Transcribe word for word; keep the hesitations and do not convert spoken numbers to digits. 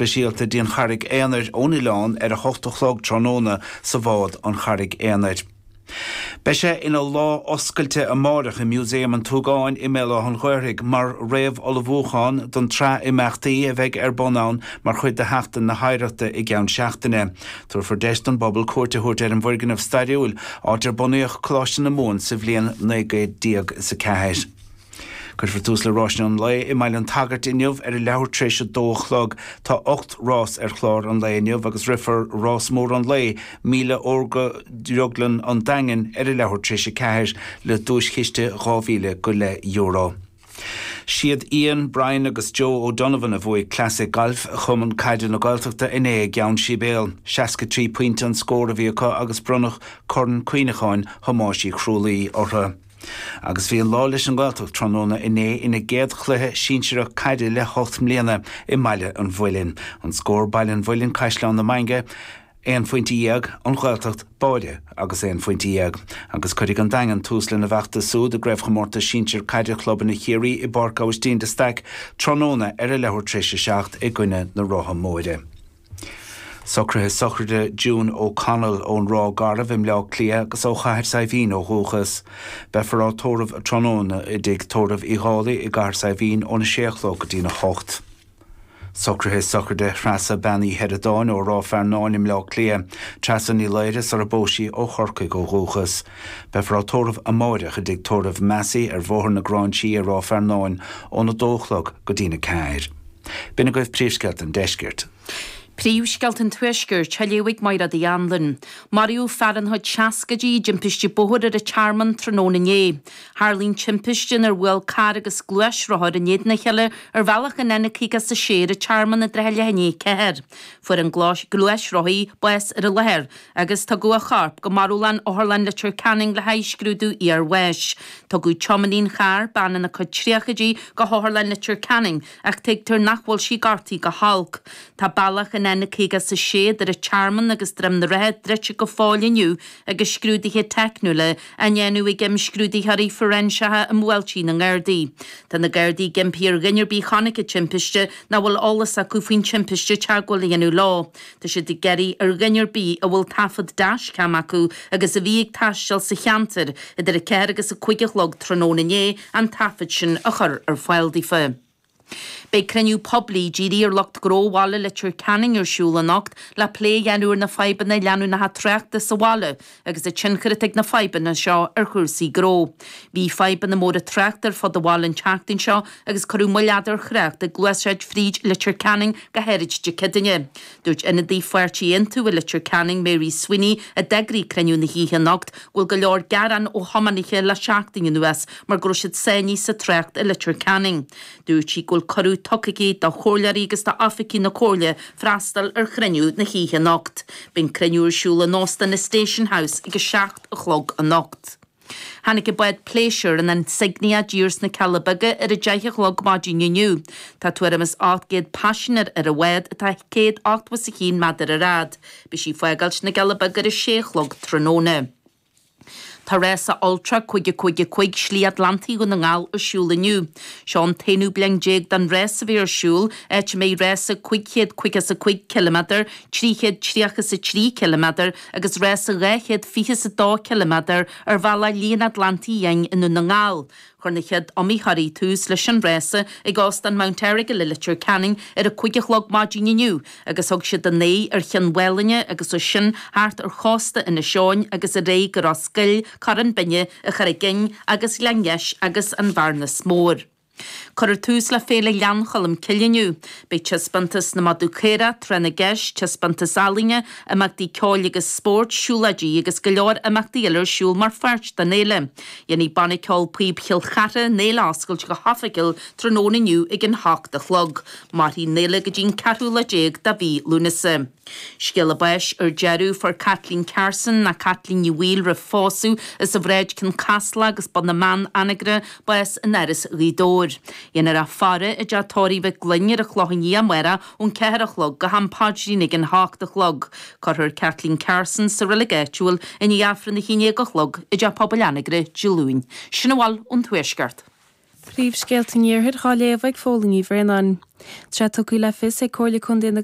speisialta dtí an Charraig Aonair ón oileán ar a hocht a chlog tráthnóna sa bhád An Charraig Aonair. Beidh sé ina lá oscailte amárach i Músaem an tSúgáin i mBéal Átha an Ghaorthaidh mar réamhullmhúchán don tsraith imeachtaí a bheidh ar bun ann mar chuid de Sheachtain na hOidhreachta i gceann seachtaine. Tabharfar deis don bpobal cuairt a thabhairt ar an bhfoirgneamh stairiúil, áit ar bunaíodh Coláiste na Mumhan sa bhliain naoi gcéad déag is a ceathair. Cuirfear tús le ráiseanna an lae i mBaile an tSagairt inniu ar a leathuair tar éis a dó a chlog. Tá ocht rás ar chlár an lae inniu agus rithfear rás mór an lae, Míle Órga Dhrioglann an Daingin, ar a leathuair tar éis a ceathair le duaischiste dhá mhíle go leith euro. Siad Ian, Brian agus Joe O'Donovan a bhuaigh Classic Gailf Chumann Caide na Gaeltachta inné i gCeann Sibéal. seasca trí pointe an scór a bhí acu agus bronnadh Corn Cuimhneacháin Thomáis Uí Chrualaoi orthu. Agus bhí an lá leis an nGaeltacht tráthnóna inné ina gcéad chluiche sinsearach caide le hocht mbliana i mBaile an Mhuilinn. An scór, Baile an Mhuilinn, Caisleán na Mainge, aon phointe dhéag, An Ghaeltacht, Báire agus aon phointe dhéag. Agus cuirfidh an Daingean tús lena bhfeachtas súd i gCraobhchomórtas Sinsir Caide Chlubanna Chiarraí i bPáirc Aibhistín de Staic tráthnóna ar a leathuair tar éis a seacht i gcoinne na Rátha Móire. Socruithe sochraide June O'Connell ón Ráth Garbh i mBleá Cliath agus ó Chathair Saidhbhín ó dhúchas. Beifear á tórramh tráthnóna i dTigh Tórraimh Uí Dhálaigh i gCathair Saidhbhín óna sé a chlog go dtína hocht. Socruithe sochraide Threasa Bean Uí Sheireadáin ó Ráth Fearnáin i mBleá Cliath. Treasa Ní Laoire sar a bpós sí ó Chorcaigh ó dhúchas. Beifear á tórramh amáireach i dTigh Tórraimh Massey ar Bhóthar na Gráinsí i Ráth Fearnáin óna dó a chlog go dtína ceathair. B'in agaibh príomhscéalta an deiscirt. Príomhscéalta an Tuaiscirt, á léamh ag Mairéad Uí Anluain. Maraíodh fear ina chuid seascaidí i dtimpiste bóthair ar an Tearmann tráthnóna inné. Tharla an timpiste inar bhuail carr agus gluaisrothar in éadan a chéile ar bhealach an N caoga is a sé ar an Tearmann i dtrátha leath i ndiaidh a ceathair. Fuair an gluaisrothaí bás ar an láthair agus tugadh a chorp go marbhlann Otharlann Leitir Ceanainn le haghaidh scrúdú iarbháis. Tugadh tiománaí an chairr, bean ina cuid tríochaidí, go hOtharlann Leitir Ceanainn ach tuigtear nach bhfuil sí gortaithe go holc. Tá bealach an N caoga is a sé idir an Tearmann agus Droim na Rátha druidte go fóill inniu agus scrúduithe teicniúla á ndéanamh ag imscrúdaitheoirí fóiréinseacha i mbuailtí na nGardaí. Tá na Gardaí ag impí ar dhuine ar bith a chonaic an timpiste nó a bhfuil eolas acu faoin timpiste teagmháil a dhéanamh leo. Tá siad ag iarraidh ar dhuine ar bith a bhfuil taifead dashcam acu agus a bhí ag taisteal sa cheantar idir a ceathair agus a cúig a chlog tráthnóna inné an taifead sin a chur ar fáil daofa. Beidh cruinniú poiblí dírithe ar lucht gnó bhaile Leitir Ceanainn ar siúl anocht le plé a dhéanamh ar na fadhbanna leanúnacha tráchta sa bhaile agus an tionchar atá ag na fadhbanna seo ar chúrsaí gnó. Bhí fadhbanna móra tráchta ar fud an bhaile an tseachtain seo agus cuireadh moill fhada ar thrácht ag gluaiseacht fríd Leitir Ceanainn go háirid Dé Céadaoine. Dúirt ionadaí pháirtí Aontú i Leitir Ceanainn, Mary Sweeney, a d'eagraigh cruinniú na hoíche anocht, go bhfuil go leor gearán ó thiománaithe le seachtain anuas mar go raibh siad sáinnithe sa trácht i Leitir Ceanainn. Dúirt sí go bhfuil cuireadh tugtha aici do chomhairleoirí agus d'oifigigh na Comhairle freastal ar chruinniú na hoíche anocht. Beidh an cruinniú ar siúl in Óstán na Station House ag a seacht a chlog anocht. Tháinig an bád pléisiúir an Insignia i dtír sna Cealla Beaga ar a deich a chlog maidin inniu. Tá tuairim is ocht gcéad paisinéir ar an bhád atá céad ochtó is a haon méadar ar fhad. Beidh sí ag fágáilt na gCealla Beaga ar a sé a chlog tráthnóna. Tá rása Ultra cúig a cúig a cúig Slí Atlantaigh Dhún na nGall ar siúl inniu. Seo an t-aonú bliain déag den rás a bheith ar siúl, áit a mbeidh rása cúig chéad caoga is a cúig ciliméadar, trí chéad tríocha is a trí ciliméadar agus rása dhá chéad fiche is a dó ciliméadar ar bhealach Shlí an Atlantaigh Fhiáin i nDún na nGall. Chuir na chéad iomaitheoirí tús leis an rása ag Óstán Mount Errigal i Leitir Ceanainn ar a cúig a chlog maidin inniu agus thug siad a n-aghaidh ar Chionn Mhálanna agus as sin thart ar chósta Inis Eoghain agus ar aghaidh go Ros Goill, Corrán Binne, an Charraig Fhinn agus Gleann Gheis agus an Bhearnas Mór. Cuirfear tús le Féile Ghleann Cholm Cille inniu. Beidh taispeántas na madadh caorach, tráth na gceist, taispeántas ealaíne, imeachtaí ceoil agus spóirt, siúlóidí agus go leor imeachtaí eile ar siúl mar pháirt den fhéile. Dhéanfaidh Banna Ceoil Píob Chill Chartha an fhéile a oscailt go hoifigiúil tráthnóna inniu ag an hocht a chlog. Mairfidh an fhéile go dtí an ceathrú lá déag de mhí Lúnasa. Scéala báis ar deireadh, fuair Caitlín Carson, nó Caitlín Ní Bhaoill roimh phósadh, as an Bhráid Cionn Caslach agus Bun na mBeann, Anagaire, bás in Áras Ghaoth Dobhair. Dhéanfar í a faire i dteach tórraimh Mhic Gloinn ar an Chlochán Liath amárach ón ceathair a chlog go ham paidrín ag an hocht a chlog. Cuirfear Kathleen Carson sa reilig áitiúil i ndiaidh Aifreann a haon déag a chlog i dTeach Pobail Anagaire Dé Luain. Sin a bhfuil ón Tuaisceart. Príomhscéalta an Iarthair dhá léamh ag Fódhla Ní Bhraonáin. Tá tugtha le fios ag Comhairle Contae na